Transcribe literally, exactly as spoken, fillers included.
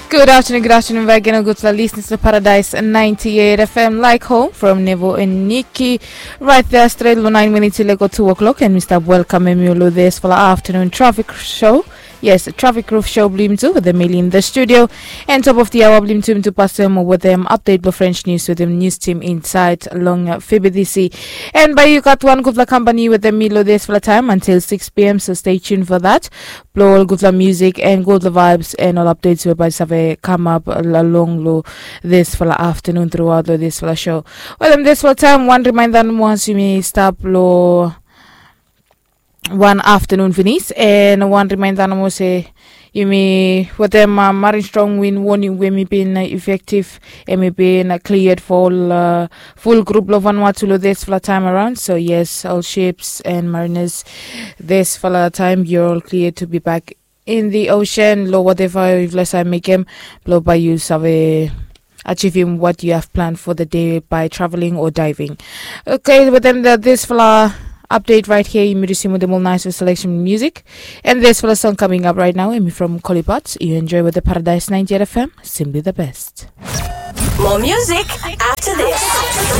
Good afternoon, good afternoon back again, gudfala listeners lo Paradise ninety-eight F M, like home from Nevo and Nikki. Right there, straight lo nine minutes i lego two o'clock, and mi stap welkamem yu lo disfala afternoon traffic show. Yes, traffic roof show blong yumi tu wetem Meli in the studio. And top of the hour blong yumi tu, yumi tu pasem wetem update blo French news wetem news team inside long F B D C. And bae yu gat wan gudfala kampani wetem mi lo disfala taem until six p.m., so stay tuned for that. Blo ol gudfala music and gudfala vibes and ol updates we bae save kamap along lo disfala afternoon throughout lo disfala show. Wetem disfala taem, wan reminder nomo, once yumi stap lo wan afternoon finis, and wan reminder nomo se yumi wetem uh, marin strong wind warning we mi bin uh, effective, and mi bin uh, cleared for ol uh, full group lo Vanuatu lo disfala taem around. So yes, all ships and mariners, disfala taem you're all cleared to be back in the ocean lo whatever yufala save mekem, blo bae yu save achieving what you have planned for the day by traveling or diving. Okay, wetem disfala update right here, yumi risim wetem ol nice selection music. And disfala song coming up right now, hemi from Collie Potts. You enjoy with the Paradise ninety-eight F M, simply the best. More music after this.